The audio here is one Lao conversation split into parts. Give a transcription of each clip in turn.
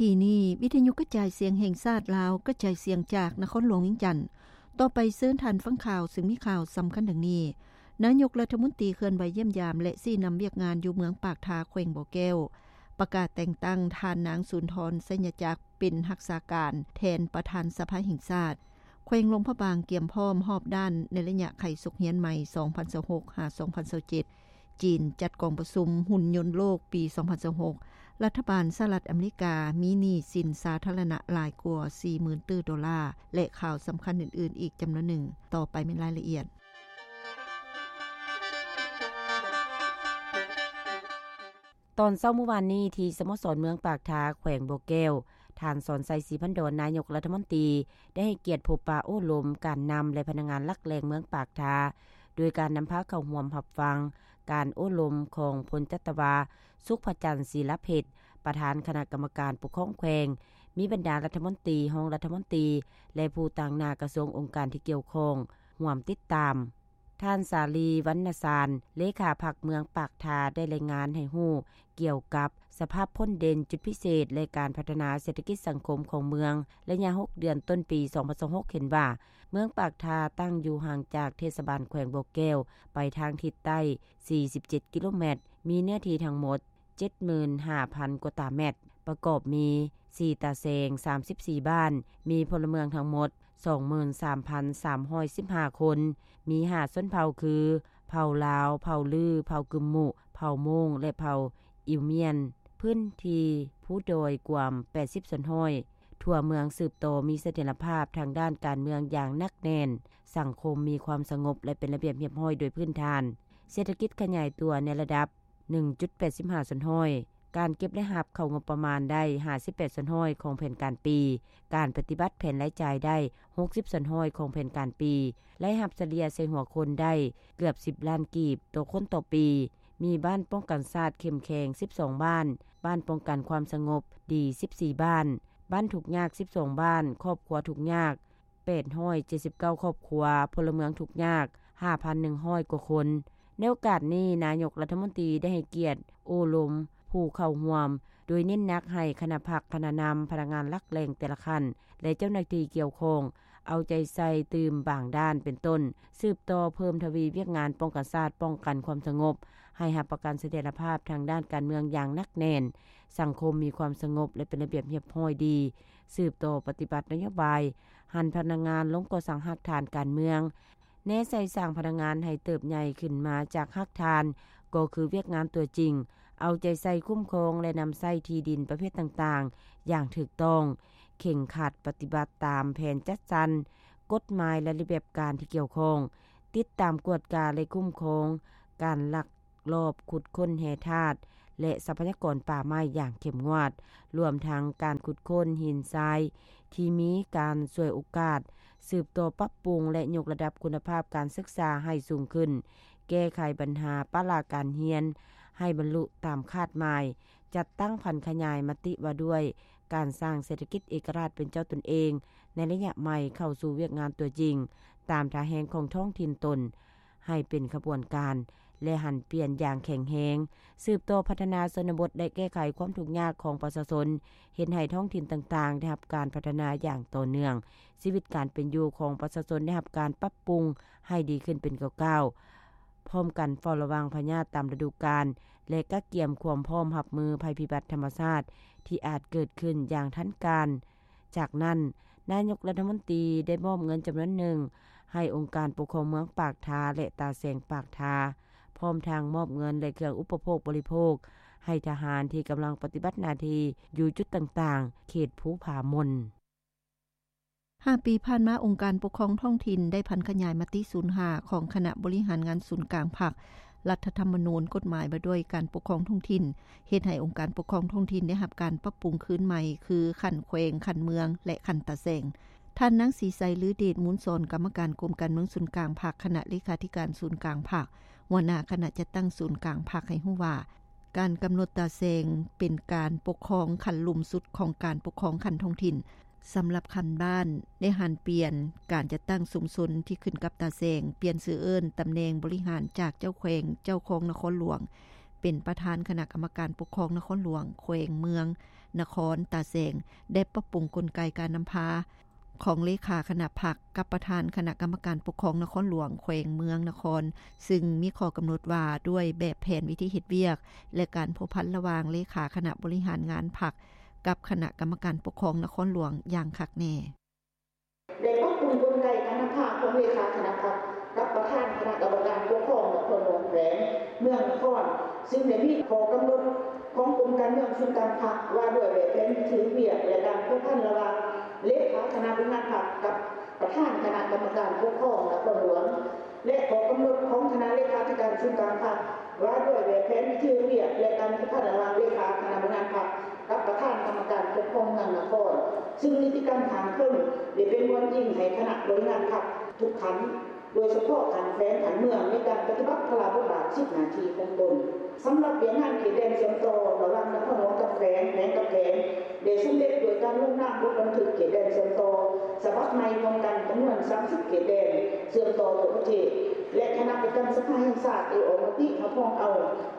ທີ່ນີ້ ວິທະຍຸກະຈາຍສຽງແຫ່ງຊາດລາວ ກະຈາຍສຽງຈາກນະຄອນຫຼວງວຽງຈັນ. ຕໍ່ໄປເຊີນທ່ານຟັງຂ່າວ ຊຶ່ງມີຂ່າວສຳຄັນດັ່ງນີ້: ນາຍົກລັດຖະມົນຕີເຄື່ອນໄຫວຢ້ຽມຢາມ ແລະ ຊີ້ນຳວຽກງານຢູ່ເມືອງປາກທາ ແຂວງບໍ່ແກ້ວ, ປະກາດແຕ່ງຕັ້ງທ່ານນາງ ສຸນທອນ ໄຊຍະຈັກ ເປັນຮັກສາການແທນປະທານສະພາແຫ່ງຊາດ. ແຂວງຫຼວງພະບາງກຽມພ້ອມຮອບດ້ານໃນໄລຍະໄຂສົກຮຽນໃໝ່ ສອງພັນຊາວຫົກ ຫາ ສອງພັນຊາວເຈັດ. ຈີນຈັດກອງປະຊຸມຫຸ່ນຍົນໂລກປີສອງພັນຊາວຫົກ, ລັດຖະບານສະຫະລັດອາເມລິກາມີໜີ້ສິນສາທາລະນະຫຼາຍກວ່າສີ່ໝື່ນຕື້ໂດລາ ແລະ ຂ່າວສຳຄັນອື່ນໆອີກຈຳນວນໜຶ່ງ. ຕໍ່ໄປແມ່ນລາຍລະອຽດ. ຕອນເຊົ້າມື້ວານນີ້ ທີ່ສະໂມສອນເມືອງປາກທາ ແຂວງບໍ່ແກ້ວ, ທ່ານ ສອນໄຊ ສີພັນດອນ ນາຍົກລັດຖະມົນຕີ ໄດ້ໃຫ້ກຽດພົບປະໂອ້ລົມການນຳ ແລະ ພະນັກງານຫຼັກແຫຼ່ງເມືອງປາກທາ ໂດຍການນຳພາເຂົ້າຮ່ວມຮັບຟັງການໂອ້ລົມຂອງ ພົນຈັດຕະວາ ສຸກພະຈັນ ສີລະເພັດ ປະທານຄະນະກຳມະການປົກຄອງແຂວງ, ມີບັນດາລັດຖະມົນຕີ, ຮອງລັດຖະມົນຕີ ແລະ ຜູ້ຕາງໜ້າກະຊວງອົງການທີ່ກ່ຽວຂ້ອງຮ່ວມຕິດຕາມ. ທ່ານ ສາລີ ວັນນະຊານ ເລຂາພັກເມືອງປາກທາ ໄດ້ລາຍງານໃຫ້ຮູ້ກ່ຽວກັບສະພາບພົ້ນເດັ່ນ, ຈຸດພິເສດ ແລະ ການພັດທະນາເສດຖະກິດສັງຄົມຂອງເມືອງ ໄລຍະຫົກເດືອນຕົ້ນປີສອງພັນຊາວຫົກ ເຫັນວ່າ ເມືອງປາກທາຕັ້ງຢູ່ຫ່າງຈາກເທດສະບານແຂວງບໍ່ແກ້ວໄປທາງທິດໃຕ້ສີ່ສິບເຈັດກິໂລແມັດ, ມີເນື້ອທີ່ທັງໝົດ ເຈັດໝື່ນຫ້າພັນກວ່າຕາແມັດ, ປະກອບມີສີ່ຕາແສງ ສາມສິບສີ່ບ້ານ, ມີພົນລະເມືອງທັງໝົດສອງໝື່ນສາມພັນສາມຮ້ອຍສິບຫ້າຄົນ, ມີຫ້າຊົນເຜົ່າຄື ເຜົ່າລາວ, ເຜົ່າລື, ເຜົ່າກຶມມຸ, ເຜົ່າໂມງ ແລະ ເຜົ່າອິວມຽນ, ພື້ນທີ່ພູດອຍກວມແປດສິບສ່ວນຮ້ອຍ. ທົ່ວເມືອງສືບຕໍ່ມີສະຖຽນລະພາບທາງດ້ານການເມືອງຢ່າງໜັກແໜ້ນ, ສັງຄົມມີຄວາມສະຫງົບ ແລະ ເປັນລະບຽບຮຽບຮ້ອຍໂດຍພື້ນຖານ, ເສດຖະກິດຂະຫຍາຍຕົວໃນລະດັບ ໜຶ່ງຈຸດແປດສິບຫ້າສ່ວນຮ້ອຍ, ການເກັບລາຍຮັບເຂົ້າງົບປະມານໄດ້ຫ້າສິບແປດສ່ວນຮ້ອຍຂອງແຜນການປີ, ການປະຕິບັດແຜນລາຍຈ່າຍໄດ້ຫົກສິບສ່ວນຮ້ອຍຂອງແຜນການປີ, ລາຍຮັບສະເລ່ຍໃສ່ຫົວຄົນໄດ້ເກືອບສິບລ້ານກີບຕໍ່ຄົນຕໍ່ປີ, ມີບ້ານປ້ອງກັນຊາດເຂັ້ມແຂງສິບສອງບ້ານ, ບ້ານປ້ອງກັນຄວາມສະຫງົບດີສິບສີ່ບ້ານ, ບ້ານທຸກຍາກສິບສອງບ້ານ, ຄອບຄົວທຸກຍາກ ແປດຮ້ອຍເຈັດສິບເກົ້າຄອບຄົວ, ພົນລະເມືອງທຸກຍາກຫ້າພັນໜຶ່ງຮ້ອຍກວ່າຄົນ. ໃນໂອກາດນີ້, ນາຍົກລັດຖະມົນຕີໄດ້ໃຫ້ກຽດໂອ້ລົມຜູ້ເຂົ້າຮ່ວມ, ໂດຍເນັ້ນໜັກໃຫ້ຄະນະພັກ, ຄະນະນຳ, ພະນັກງານຫຼັກແຫຼ່ງແຕ່ລະຂັ້ນ ແລະ ເຈົ້າໜ້າທີ່ກ່ຽວຂ້ອງ ເອົາໃຈໃສ່ຕື່ມບາງດ້ານ ເປັນຕົ້ນ ສືບຕໍ່ເພີ່ມທະວີວຽກງານປ້ອງກັນຊາດ, ປ້ອງກັນຄວາມສະຫງົບ, ໃຫ້ຮັບປະກັນສະຖຽນລະພາບທາງດ້ານການເມືອງຢ່າງໜັກແໜ້ນ, ສັງຄົມມີຄວາມສະຫງົບ ແລະ ເປັນລະບຽບຮຽບຮ້ອຍດີ, ສືບຕໍ່ປະຕິບັດນະໂຍບາຍ ຫັນພະນັກງານລົງກໍ່ສ້າງຮາກຖານການເມືອງ, ແນໃສ່ສ້າງພະນັກງານໃຫ້ເຕີບໃຫຍ່ຂຶ້ນມາຈາກຮາກຖານ, ກໍຄືວຽກງານຕົວຈິງ, ເອົາໃຈໃສ່ຄຸ້ມຄອງ ແລະ ນຳໃຊ້ທີ່ດິນປະເພດຕ່າງໆຢ່າງຖືກຕ້ອງ, ເຄັ່ງຄັດປະຕິບັດຕາມແຜນຈັດສັນ, ກົດໝາຍ ແລະ ລະບຽບການທີ່ກ່ຽວຂ້ອງ, ຕິດຕາມກວດກາ ແລະ ຄຸ້ມຄອງການລັກ ລອບຂຸດຄົ້ນແຮ່ທາດ ແລະ ຊັບພະຍາກອນປ່າໄມ້ຢ່າງເຂັ້ມງວດ, ລວມທັງການຂຸດຄົ້ນຫີນຊາຍທີ່ມີການສວຍໂອກາດ, ສືບຕໍ່ປັບປຸງ ແລະ ຍົກລະດັບຄຸນນະພາບການສຶກສາໃຫ້ສູງຂຶ້ນ, ແກ້ໄຂບັນຫາປະລະການຮຽນໃຫ້ບັນລຸຕາມຄາດໝາຍ, ຈັດຕັ້ງຜັນຂະຫຍາຍມະຕິວ່າດ້ວຍການສ້າງເສດຖະກິດເອກະລາດເປັນເຈົ້າຕົນເອງໃນໄລຍະໃໝ່ເຂົ້າສູ່ວຽກງານຕົວຈິງ ຕາມທ່າແຮງຂອງທ້ອງຖິ່ນຕົນ ໃຫ້ເປັນຂະບວນການ ແລະ ຫັນປ່ຽນຢ່າງແຂງແຮງ, ສືບຕໍ່ພັດທະນາຊົນນະບົດ ແລະ ແກ້ໄຂຄວາມທຸກຍາກຂອງປະຊາຊົນ, ເຮັດໃຫ້ທ້ອງຖິ່ນຕ່າງໆໄດ້ຮັບການພັດທະນາຢ່າງຕໍ່ເນື່ອງ, ຊີວິດການເປັນຢູ່ຂອງປະຊາຊົນໄດ້ຮັບການປັບປຸງໃຫ້ດີຂຶ້ນເປັນກ້າວໆ, ພ້ອມກັນເຝົ້າລະວັງພະຍາດຕາມລະດູການ ແລະ ກະກຽມຄວາມພ້ອມຮັບມືໄພພິບັດທຳມະຊາດທີ່ອາດເກີດຂຶ້ນຢ່າງທັນການ. ຈາກນັ້ນ, ນາຍົກລັດຖະມົນຕີໄດ້ມອບເງິນຈຳນວນໜຶ່ງໃຫ້ອົງການປົກຄອງເມືອງປາກທາ ແລະ ຕາແສງປາກທາ, ພ້ອມທັງມອບເງິນ ແລະ ເຄື່ອງອຸປະໂພກບໍລິໂພກໃຫ້ທະຫານທີ່ກຳລັງປະຕິບັດໜ້າທີ່ຢູ່ຈຸດຕ່າງໆ ເຂດພູຜາມົນ. ຫ້າປີຜ່ານມາ, ອົງການປົກຄອງທ້ອງຖິ່ນໄດ້ຜັນຂະຫຍາຍມະຕິສູນຫ້າຂອງຄະນະບໍລິຫານງານສູນກາງພັກ, ລັດຖະທຳມະນູນ, ກົດໝາຍວ່າດ້ວຍການປົກຄອງທ້ອງຖິ່ນ, ເຮັດໃຫ້ອົງການປົກຄອງທ້ອງຖິ່ນໄດ້ຮັບການປັບປຸງຄືນໃໝ່ ຄືຂັ້ນແຂວງ, ຂັ້ນເມືອງ ແລະ ຂັ້ນຕາແສງ. ທ່ານນາງ ສີໄຊ ລືເດດມູນສອນ, ກຳມະການກົມການເມືອງສູນກາງພັກ, ຄະນະເລຂາທິການສູນກາງພັກ, ຫົວໜ້າຄະນະຈັດຕັ້ງສູນກາງພັກ ໃຫ້ຮູ້ວ່າ, ການກຳນົດຕາແສງເປັນການປົກຄອງຂັ້ນລຸ່ມສຸດຂອງການປົກຄອງຂັ້ນທ້ອງຖິ່ນ. ສຳລັບຂັ້ນບ້ານ, ໄດ້ຫັນປ່ຽນການຈັດຕັ້ງຊຸມຊົນທີ່ຂຶ້ນກັບຕາແສງ, ປ່ຽນຊື່ເອີ້ນ, ຕຳແໜ່ງບໍລິຫານຈາກເຈົ້າແຂວງ, ເຈົ້າຄອງນະຄອນຫຼວງ, ເປັນປະທານຄະນະກຳມະການປົກຄອງນະຄອນຫຼວງ, ແຂວງ, ເມືອງ, ນະຄອນຕາແສງ ໄດ້ປັບປຸງກົນໄກການນຳພາຂອງເລຂາຄະນະພັກກັບປະທານຄະນະກຳມະການປົກຄອງນະຄອນຫຼວງ, ແຂວງ, ເມືອງ, ນະຄອນ ຊຶ່ງມີຂໍ້ກຳນົດວ່າດ້ວຍແບບແຜນວິທີເຮັດວຽກ ແລະ ການພົວພັນລະຫວ່າງເລຂາຄະນະບໍລິຫານງານພັກກັບຄະນະກຳມະການປົກຄອງນະຄອນຫຼວງຢ່າງຄັກແນ່. ໄດ້ປັບປຸງກົນໄກການນຳພາຂອງເລຂາຄະນະພັກກັບປະທານຄະນະກຳມະການປົກຄອງນະຄອນຫຼວງ, ແຂວງ, ເມືອງ, ນະຄອນ ຊຶ່ງໄດ້ມີຂໍ້ກຳນົດຂອງກົມການເມືອງສູນກາງພັກ ວ່າດ້ວຍແບບແຜນວິທີເຮັດວຽກ ແລະ ການພົວພັນລະຫວ່າງເລຂາຄະນະບໍລິຫານພັກກັບປະທານຄະນະກຳມະການປົກຄອງນະຄອນຫຼວງ ແລະ ຂໍ້ກຳນົດຂອງຄະນະເລຂາທິການສູນກາງພັກ ວ່າດ້ວຍແບບແຜນວິທີເຮັດວຽກ ແລະ ການພົວພັນລະຫວ່າງເລຂາຄະນະບໍລິຫານພັກກັບປະທານກຳມະການປົກຄອງເມືອງນະຄອນ, ຊຶ່ງນິຕິກຳຂັ້ນເທິງໄດ້ເປັນບ່ອນອີງໃຫ້ຄະນະບໍລິຫານພັກທຸກຂັ້ນ, ໂດຍສະເພາະຂັ້ນແຂວງ, ຂັ້ນເມືອງ ໃນການປະຕິບັດພາລະບົດບາດສິດໜ້າທີ່ຂອງຕົນ. ສຳລັບວຽກງານເຂດແດນເຊື່ອມຕໍ່ລະຫວ່າງນະຄອນຫຼວງກັບແຂວງ, ແຂວງກັບແຂວງ ໄດ້ສຳເລັດດ້ວຍການລົງນາມບົດບັນທຶກເຂດແດນເຊື່ອມຕໍ່ສະບັບໃໝ່ຂອງການຈຳນວນສາມສິບເຂດແດນເຊື່ອມຕໍ່ທົ່ວປະເທດ ແລະ ຄະນະປະຈຳສະພາແຫ່ງຊາດໄດ້ອອກມະຕິຮັບຮອງເອົາ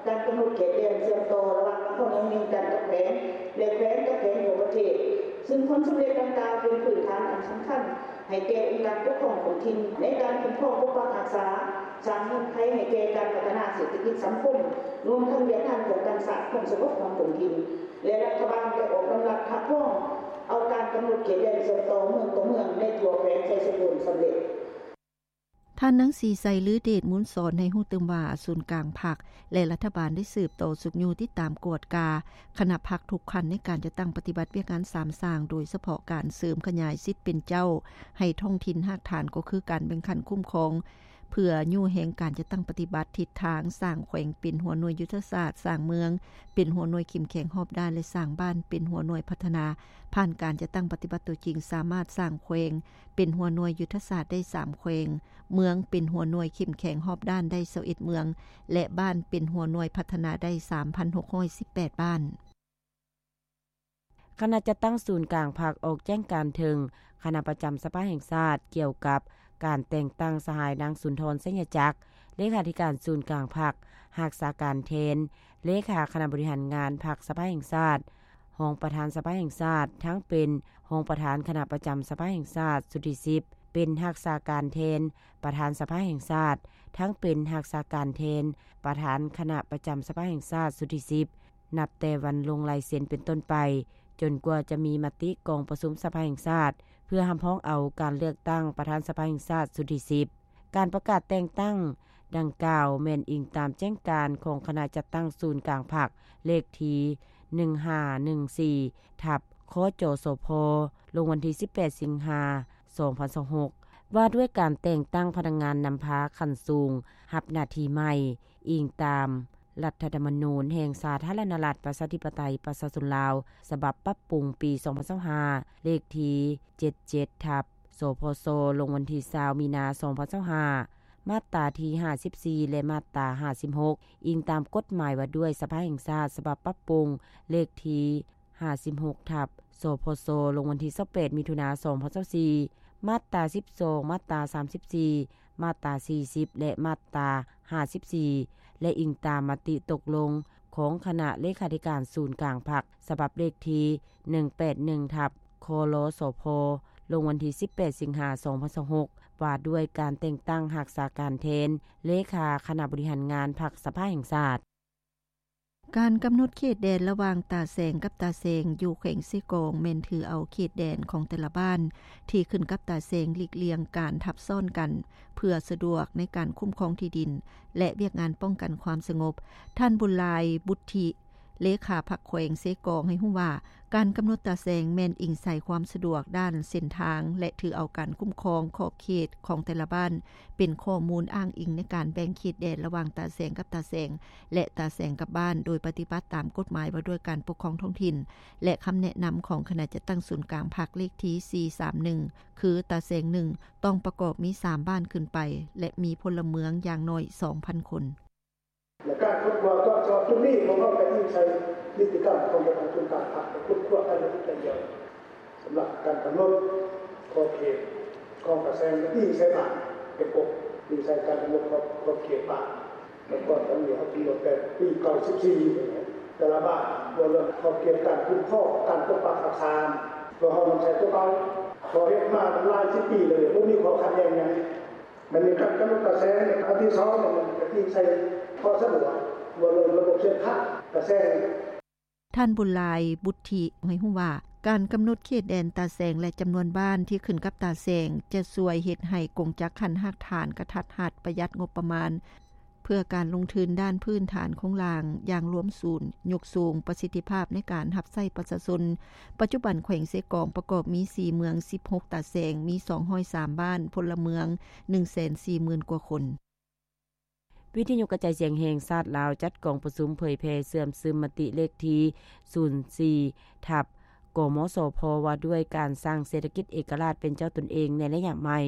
ການກຳນົດເຂດແດນເຊື່ອມຕໍ່ລະຫວ່າງນະຄອນຫຼວງວຽງຈັນກັບແຂວງ ແລະ ແຂວງກັບແຂວງທົ່ວປະເທດ, ຊຶ່ງຜົນສຳເລັດດັ່ງກ່າວເປັນພື້ນຖານອັນສຳຄັນໃຫ້ແກ່ອົງການປົກຄອງທ້ອງຖິ່ນໃນການຄຸ້ມຄອງປົກປັກຮັກສາ, ສ້າງເງື່ອນໄຂໃຫ້ແກ່ການພັດທະນາເສດຖະກິດສັງຄົມ, ລວມທັງວຽກງານປ້ອງກັນຊາດຄວາມສະຫງົບຂອງທ້ອງຖິ່ນ. ແລະ ລັດຖະບານໄດ້ອອກດຳລັດຮັບຮອງເອົາການກຳນົດເຂດແດນເຊື່ອມຕໍ່ເມືອງຕໍ່ເມືອງໃນທົ່ວແຂວງໄຊສົມບູນສຳເລັດ. ທ່ານນາງ ສີໄຊລືເດດມູນສອນ ໃຫ້ຮູ້ຕື່ມວ່າ ສູນກາງພັກ ແລະ ລັດຖະບານໄດ້ສືບຕໍ່ຊຸກຍູ້ຕິດຕາມກວດກາຄະນະພັກທຸກຂັ້ນໃນການຈັດຕັ້ງປະຕິບັດວຽກງານສາມສ້າງ, ໂດຍສະເພາະການເສີມຂະຫຍາຍສິດເປັນເຈົ້າໃຫ້ທ້ອງຖິ່ນຮາກຖານ ກໍຄືການແບ່ງຂັ້ນຄຸ້ມຄອງ ເພື່ອຍູ້ແຮງການຈັດຕັ້ງປະຕິບັດທິດທາງສ້າງແຂວງເປັນຫົວໜ່ວຍຍຸດທະສາດ, ສ້າງເມືອງເປັນຫົວໜ່ວຍເຂັ້ມແຂງຮອບດ້ານ ແລະ ສ້າງບ້ານເປັນຫົວໜ່ວຍພັດທະນາ. ຜ່ານການຈັດຕັ້ງປະຕິບັດຕົວຈິງ, ສາມາດສ້າງແຂວງເປັນຫົວໜ່ວຍຍຸດທະສາດໄດ້ສາມແຂວງ, ເມືອງເປັນຫົວໜ່ວຍເຂັ້ມແຂງຮອບດ້ານໄດ້ຊາວເອັດເມືອງ ແລະ ບ້ານເປັນຫົວໜ່ວຍພັດທະນາໄດ້ສາມພັນຫົກຮ້ອຍສິບແປດບ້ານ. ຄະນະຈັດຕັ້ງສູນກາງພັກອອກແຈ້ງການເຖິງຄະນະປະຈຳສະພາແຫ່ງຊາດ ກ່ຽວກັບການແຕ່ງຕັ້ງສະຫາຍ ນາງ ສຸນທອນ ໄຊຍະຈັກ ເລຂາທິການສູນກາງພັກ, ຮັກສາການແທນເລຂາຄະນະບໍລິຫານງານພັກສະພາແຫ່ງຊາດ, ຮອງປະທານສະພາແຫ່ງຊາດ ທັງເປັນຮອງປະທານຄະນະປະຈຳສະພາແຫ່ງຊາດຊຸດທີສິບ, ເປັນຮັກສາການແທນປະທານສະພາແຫ່ງຊາດ, ທັງເປັນຮັກສາການແທນປະທານຄະນະປະຈຳສະພາແຫ່ງຊາດຊຸດທີສິບ ນັບແຕ່ວັນລົງລາຍເຊັນເປັນຕົ້ນໄປ, ຈົນກວ່າຈະມີມະຕິກອງປະຊຸມສະພາແຫ່ງຊາດ ເພື່ອຮັບຮອງເອົາການເລືອກຕັ້ງປະທານສະພາແຫ່ງຊາດຊຸດທີສິບ. ການປະກາດແຕ່ງຕັ້ງດັ່ງກ່າວ ແມ່ນອີງຕາມແຈ້ງການຂອງຄະນະຈັດຕັ້ງສູນກາງພັກ ເລກທີໜຶ່ງຫ້າໜຶ່ງສີ່ ທັບ ຄຈສພ ລົງວັນທີສິບແປດ ສິງຫາ ສອງພັນຊາວຫົກ ວ່າດ້ວຍການແຕ່ງຕັ້ງພະນັກງານນຳພາຂັ້ນສູງຮັບໜ້າທີ່ໃໝ່ ອີງຕາມລັດຖະທຳມະນູນແຫ່ງສາທາລະນະລັດ ປະຊາທິປະໄຕ ປະຊາຊົນລາວ ສະບັບປັບປຸງປີສອງພັນຊາວຫ້າ ເລກທີເຈັດເຈັດ ທັບ ສພຊ ລົງວັນທີຊາວ ມີນາ ສອງພັນຊາວຫ້າ ມາດຕາທີຫ້າສິບສີ່ ແລະ ມາດຕາຫ້າສິບຫົກ ອີງຕາມກົດໝາຍວ່າດ້ວຍສະພາແຫ່ງຊາດ ສະບັບປັບປຸງ ເລກທີຫ້າສິບຫົກ ທັບ ສພຊ ລົງວັນທີຊາວແປດ ມິຖຸນາ ສອງພັນຊາວສີ່ ມາດຕາສິບສອງ ມາດຕາສາມສິບສີ່ ມາດຕາສີ່ສິບ ແລະ ມາດຕາຫ້າສິບສີ່ ແລະ ອີງຕາມມະຕິຕົກລົງຂອງຄະນະເລຂາທິການສູນກາງພັກ ສະບັບເລກທີໜຶ່ງແປດໜຶ່ງ ທັບ ຄລສພ ລົງວັນທີສິບແປດ ສິງຫາ ສອງພັນຊາວຫົກ ວ່າດ້ວຍການແຕ່ງຕັ້ງຮັກສາການແທນເລຂາຄະນະບໍລິຫານງານພັກສະພາແຫ່ງຊາດ. ການກຳນົດເຂດແດນລະຫວ່າງຕາແສງກັບຕາແສງຢູ່ແຂວງເຊກອງ ແມ່ນຖືເອົາເຂດແດນຂອງແຕ່ລະບ້ານທີ່ຂຶ້ນກັບຕາແສງ ຫຼີກລ່ຽງການທັບຊ້ອນກັນ ເພື່ອສະດວກໃນການຄຸ້ມຄອງທີ່ດິນ ແລະ ວຽກງານປ້ອງກັນຄວາມສະຫງົບ. ທ່ານ ບຸນຫຼາຍ ບຸດທິ ເລຂາພັກແຂວງເຊກອງ ໃຫ້ຮູ້ວ່າ ການກຳນົດຕາແສງແມ່ນອີງໃສ່ຄວາມສະດວກດ້ານເສັ້ນທາງ ແລະ ຖືເອົາການຄຸ້ມຄອງຂອບເຂດຂອງແຕ່ລະບ້ານ ເປັນຂໍ້ມູນອ້າງອີງໃນການແບ່ງເຂດແດນລະຫວ່າງຕາແສງກັບຕາແສງ ແລະ ຕາແສງກັບບ້ານ ໂດຍປະຕິບັດຕາມກົດໝາຍວ່າດ້ວຍການປົກຄອງທ້ອງຖິ່ນ ແລະ ຄຳແນະນຳຂອງຄະນະຈັດຕັ້ງສູນກາງພັກເລກທີສີ່ສາມໜຶ່ງ ຄື ຕາແສງໜຶ່ງ ຕ້ອງປະກອບມີສາມບ້ານຂຶ້ນໄປ ແລະ ມີພົນລະເມືອງຢ່າງໜ້ອຍສອງພັນຄົນ. ແລະ ການຄົ້ນຄວ້າຕອບໂຈດຈຸດນີ້ ພວກເຮົາກະອີງໃສ່ນິຕິກຳຂອງການຕັ້ງສູນກາງພັກ ໄປຄົ້ນຄວ້າລາຍລະອຽດ ສຳລັບການກຳນົດຂອບເຂດຂອງຕາແສງ ອີງໃສ່ບ້ານເປັນປົກ, ອີງໃສ່ການກຳນົດຂອບ ຂອບເຂດບ້ານ ກ່ອນອັນນີ້ເຮົາກຳນົດແຕ່ປີເກົ້າສິບສີ່ ແຕ່ລະບ້ານ ເວົ້າເລື່ອງຂອບເຂດການຄຸ້ມຄອງ ການປົກປັກຮັກສາ ເພາະເຮົານຳໃຊ້ຕົວເກົ່າ ເພາະເຮັດມາຫຼາຍສິບປີແລ້ວ ບໍ່ມີຂໍ້ຂັດແຍ່ງຫຍັງ. ມັນມີການກຳນົດຕາແສງ ອັນທີສອງ ມັນກະຕິໃສ່ຂໍ້ສະດວກ ເວົ້າເລື່ອງລະບົບເສັ້ນທາງຕາແສງ. ທ່ານ ບຸນຫຼາຍ ບຸດທິ ໃຫ້ຮູ້ວ່າ ການກຳນົດເຂດແດນຕາແສງ ແລະ ຈຳນວນບ້ານທີ່ຂຶ້ນກັບຕາແສງ ຈະຊ່ວຍເຮັດໃຫ້ກົງຈັກຂັ້ນຮາກຖານກະທັດຮັດ, ປະຢັດງົບປະມານ ເພື່ອການລົງທຶນດ້ານພື້ນຖານໂຄງລ່າງຢ່າງລວມສູນ, ຍົກສູງປະສິດທິພາບໃນການຮັບໃຊ້ປະຊາຊົນ. ປັດຈຸບັນແຂວງເຊກອງປະກອບມີສີ່ເມືອງ, ສິບຫົກຕາແສງ, ມີສອງຮ້ອຍສາມບ້ານ, ພົນລະເມືອງໜຶ່ງແສນສີ່ໝື່ນກວ່າຄົນ. ວິທະຍຸກະຈາຍສຽງແຫ່ງຊາດລາວ ຈັດກອງປະຊຸມເຜີຍແຜ່ເຊື່ອມຊຶມມະຕິເລກທີສູນສີ່ ທັບ ກມສພ ວ່າດ້ວຍການສ້າງເສດຖະກິດເອກະລາດເປັນເຈົ້າຕົນເອງໃນໄລຍະໃໝ່.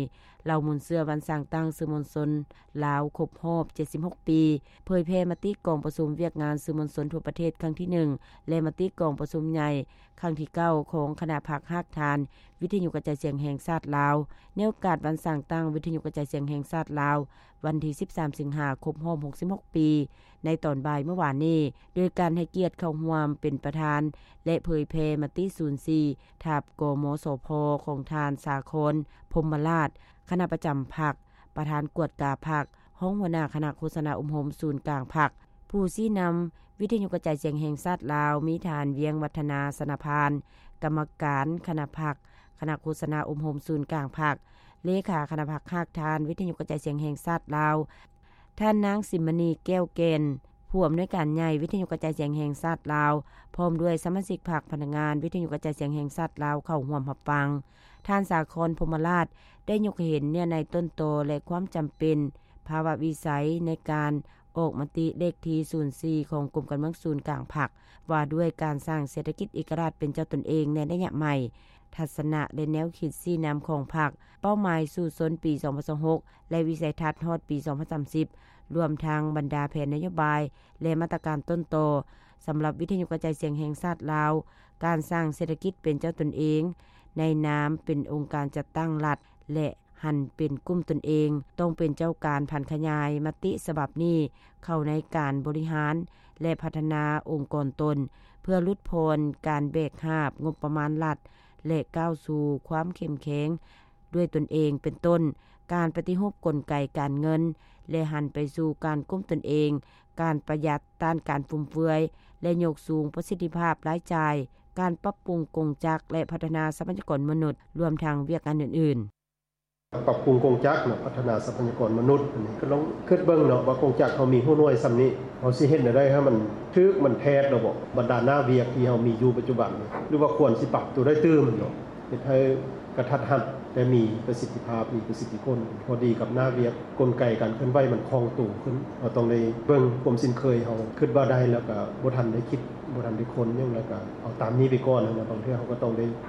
ເຫຼົ່າມູນເຊື້ອວັນສ້າງຕັ້ງສື່ມວນຊົນລາວຄົບຮອບເຈັດສິບຫົກປີ ເຜີຍແຜ່ມະຕິກອງປະຊຸມວຽກງານສື່ມວນຊົນທົ່ວປະເທດຄັ້ງທີໜຶ່ງ ແລະ ມະຕິກອງປະຊຸມໃຫຍ່ຄັ້ງທີເກົ້າ ຂອງຄະນະພັກຮາກຖານວິທະຍຸກະຈາຍສຽງແຫ່ງຊາດລາວ ໃນໂອກາດວັນສ້າງຕັ້ງວິທະຍຸກະຈາຍສຽງແຫ່ງຊາດລາວ ວັນທີສິບສາມ ສິງຫາ ຄົບຮອບຫົກສິບຫົກປີ ໃນຕອນບ່າຍເມື່ອວານນີ້ ໂດຍການໃຫ້ກຽດເຂົ້າຮ່ວມເປັນປະທານ ແລະ ເຜີຍແຜ່ມະຕິສູນສີ່ ທັບ ກມສພ ຂອງທ່ານ ສາຄອນ ພົມມະລາດ ຄະນະປະຈຳພັກ, ປະທານກວດກາພັກ, ຮອງຫົວໜ້າຄະນະໂຄສະນາອົບຮົມສູນກາງພັກ. ຜູ້ຊີ້ນຳວິທະຍຸກະຈາຍສຽງແຫ່ງຊາດລາວ ມີທ່ານ ວຽງວັດທະນາ ຊະນະພານ ກຳມະການຄະນະພັກ, ຄະນະໂຄສະນາອົບຮົມສູນກາງພັກ, ເລຂາຄະນະພັກຮາກຖານວິທະຍຸກະຈາຍສຽງແຫ່ງຊາດລາວ, ທ່ານນາງ ສິມມະນີ ແກ້ວແກ່ນ ຜູ້ອຳນວຍການໃຫຍ່ວິທະຍຸກະຈາຍສຽງແຫ່ງຊາດລາວ ພ້ອມດ້ວຍສະມາຊິກພັກ, ພະນັກງານວິທະຍຸກະຈາຍສຽງແຫ່ງຊາດລາວເຂົ້າຮ່ວມຮັບຟັງ. ທ່ານ ສາຄອນ ພົມມະລາດ ໄດ້ຍົກໃຫ້ເຫັນເນື້ອໃນຕົ້ນຕໍ ແລະ ຄວາມຈຳເປັນ ພາວະວິໄສໃນການອອກມະຕິເລກທີສູນສີ່ ຂອງກົມການເມືອງສູນກາງພັກ ວ່າດ້ວຍການສ້າງເສດຖະກິດເອກະລາດເປັນເຈົ້າຕົນເອງໃນໄລຍະໃໝ່, ທັດສະນະ ແລະ ແນວຄິດຊີ້ນຳຂອງພັກ, ເປົ້າໝາຍສູ້ຊົນປີສອງພັນຊາວຫົກ ແລະ ວິໄສທັດຮອດປີສອງພັນສາມສິບ ລວມທັງບັນດາແຜນນະໂຍບາຍ ແລະ ມາດຕະການຕົ້ນຕໍ ສຳລັບວິທະຍຸກະຈາຍສຽງແຫ່ງຊາດລາວ, ການສ້າງເສດຖະກິດເປັນເຈົ້າຕົນເອງ ໃນນາມເປັນອົງການຈັດຕັ້ງລັດ ແລະ ຫັນເປັນກຸ່ມຕົນເອງ, ຕ້ອງເປັນເຈົ້າການຜັນຂະຫຍາຍມະຕິສະບັບນີ້ເຂົ້າໃນການບໍລິຫານ ແລະ ພັດທະນາອົງກອນຕົນ ເພື່ອຫຼຸດຜ່ອນການແບກຫາບງົບປະມານລັດ ແລະ ກ້າວສູ່ຄວາມເຂັ້ມແຂງດ້ວຍຕົນເອງ ເປັນຕົ້ນ ການປະຕິຮູບກົນໄກການເງິນ ແລະ ຫັນໄປສູ່ການກຸ້ມຕົນເອງ, ການປະຢັດ, ຕ້ານການຟຸມເຟືອຍ ແລະ ຍົກສູງປະສິດທິພາບລາຍຈ່າຍ, ການປັບປຸງກົງຈັກ ແລະ ພັດທະນາຊັບພະຍາກອນມະນຸດ, ລວມທັງວຽກງານອື່ນໆ. ປັບປຸງກົງຈັກເນາະ, ພັດທະນາຊັບພະຍາກອນມະນຸດ, ອັນນີ້ກໍລອງຄິດເບິ່ງເນາະວ່າ ກົງຈັກເຮົາມີຫົວໜ່ວຍສ່ຳນີ້ ເຮົາຊິເຮັດແນວໃດໃຫ້ມັນຖືກ ມັນແທດລະບໍ? ບັນດາໜ້າວຽກທີ່ເຮົາມີຢູ່ປັດຈຸບັນນີ້ ຫຼືວ່າຄວນຊິປັບຕົວໃດຕື່ມເນາະ ເຮັດໃຫ້ກະທັດຮັດ ແຕ່ມີປະສິດທິພາບ, ມີປະສິດທິຜົນ ພໍດີກັບໜ້າວຽກ, ກົນໄກການເຄື່ອນໄຫວມັນຄ່ອງໂຕຂຶ້ນ. ເຮົາຕ້ອງໄດ້ເບິ່ງຄວາມຊິນເຄີຍເຮົາ, ຄິດວ່າໄດ້ແລ້ວກະບໍ່ທັນໄດ້ຄິດ, ບໍ່ທັນໄດ້ຄົ້ນຫຍັງ, ແລ້ວກະເອົາຕາມນີ້ໄປກ່ອນ. ບາງເທື່ອເຮົາກໍຕ້ອງໄດ້